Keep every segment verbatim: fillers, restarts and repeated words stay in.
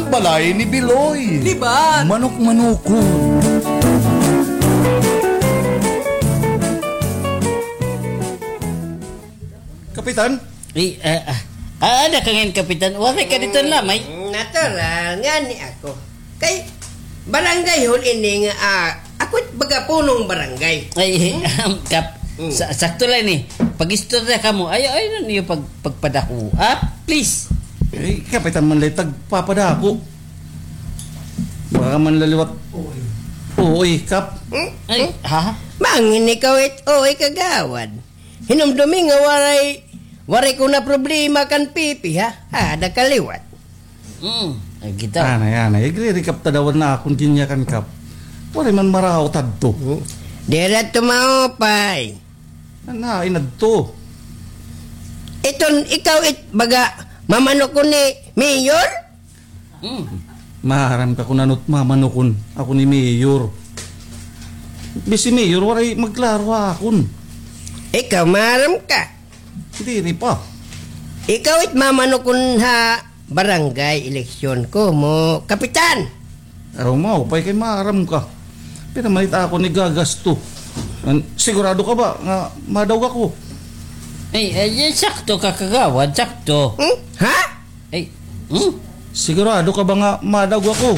Balay ni Biloy. Di ba? Manok-manokon. Kapitan? Ay, ah, ah, ah, ada ka ngayon, Kapitan. Waray ka dito lamay. Mm, natural. Ngani ako. Kay, barangay hall ini nga, ah, ako it baga punong barangay. Ay, um, Kap, mm, sa-, sakto lang ni. Pag-istorya kamo. Ay, ay, ano niyo pag-, pagpadako? Ah, please. Eh, Kapitan man lay tagpapadako. Baka man laliwat. Oo, eh, Kap. Hmm? Ay, ha? Mangin ikaw it, oy, kagawad. Hinumdumi nga waray, waray ko na problema kan pipi, ha? Ada kaliwat. Mm, ay, kita. Anay, anay. Igririkap ta daw an akon ginyakan, Kap. Waray man maraot adto. Hmm. Dira tumaupay. Anain adto. Iton, ikaw it baga mamanokon ni Mayor? Hmm. Maaram ka kun ano it mamanokon ako ni Mayor. Bisi Mayor, waray magklaro ha akon. Ikaw, maaram ka? Diri pa. Ikaw it mamanokon ha barangay eleksyon komo kapitan. Aw, maupay kay maaram ka. Pira man it akon igagasto. An-, sigurado ka ba nga madaog ako? Ay, ay, ay, sakto ka, kagawad, sakto. Hmm? Ha? Ay, hmm? Sigurado ka ba nga madaog ako?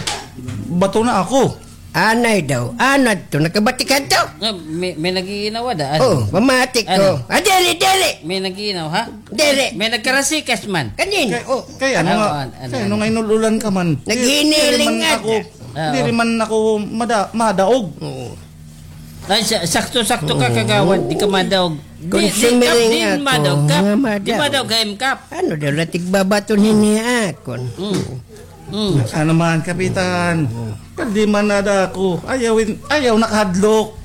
Bato na ako. Anay daw. Ano adto? Nakabati ka adto? Ah, may, may nag-iinaw ada, ano? Oh, pamati ko. Ano? Ah, dili, dili! May nag-iinaw, ha? Dili. May nagkarasikas man. Kanin? Kay, oh, kay ano nga, ano, ano, kay ano ano? Nga inul-ulan ka man? Naghiniling diri man nga ako, da. Ah, diri oh. Man ako mada-, madaog. Oo. Ay, sa-, sakto-sakto ka, oo. Kagawad, di ka madaog. Di, di, Kap, di madaog, Kap. Nga madaog. Di madaog, M, Kap. Ano daw, latig babaton hini akon? Mm. Mm. Ano man, Kapitan? Pero di man ada ako. Ayaw in-, ayaw nakahadlok.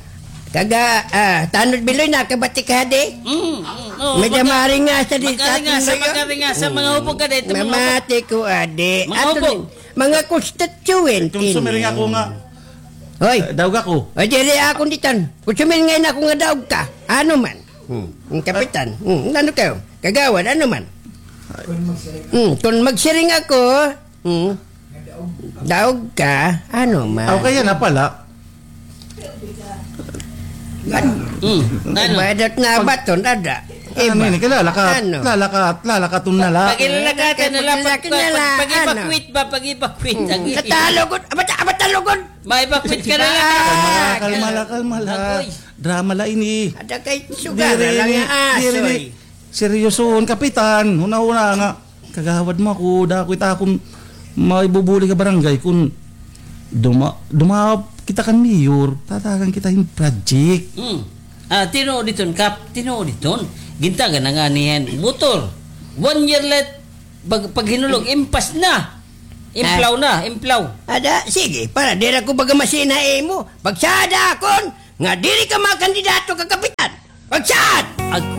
Kaga, ah, tanod Biloy, nakabati ka di? Mm, mm, oo, medyo maka-, maringasa di sa atin ngayon. Makaringasa, makaringasa, mga hubog ka dito, mga hubog. Mamati ko, adi. Mga hubog. Mga constituent. Consumer nga ako nga. Hoy. Eh, daog ako. Hoy, diri ako ditan. Consumer nga ako nga daog ka. Ano man? Hmm. Ang kapitan. Hmm. Ano kayo? Kagawad, ano man? Hmm. Kung magsiring ako, hmm. Daog ka, ano man? Aw, kaya na pala. Ano? Hmm. Ano? Bayad na baton, ada. Ano ini? Kilala ka? Ano? Kilala ka? Kilala ka? Tun na la. Pag-, pag-, pag-, pag-, pag-, pag-, pag-, pag-evacuate ba? Pag-evacuate. Hmm. Ang i- Katalugod. Aba, ta-, aba, talugod. Ma-evacuate ka na lang. Ah, kalma la, kalma la. Agoy. Drama la ini. Ada kay sugar la nga asoy. Diri ni, diri ni. Seryosohon, Kapitan. Huna-huna nga. Kagawad mo ako, dako it akon maibubulig ha barangay kun duma-, dumaop kita kan mayor, tatagan kita hin project. Hmm. Ah, tinuod iton, Kap, tinuod iton. Gintagan na ngani hin motor. One year late, pag-, paghinulog, impas na. Implaw na, implaw. Ada, sige, para diri ako baga masina imo. Pagsada akon, nga diri ka makandidato ka kapitan. Pagsad! Agoy,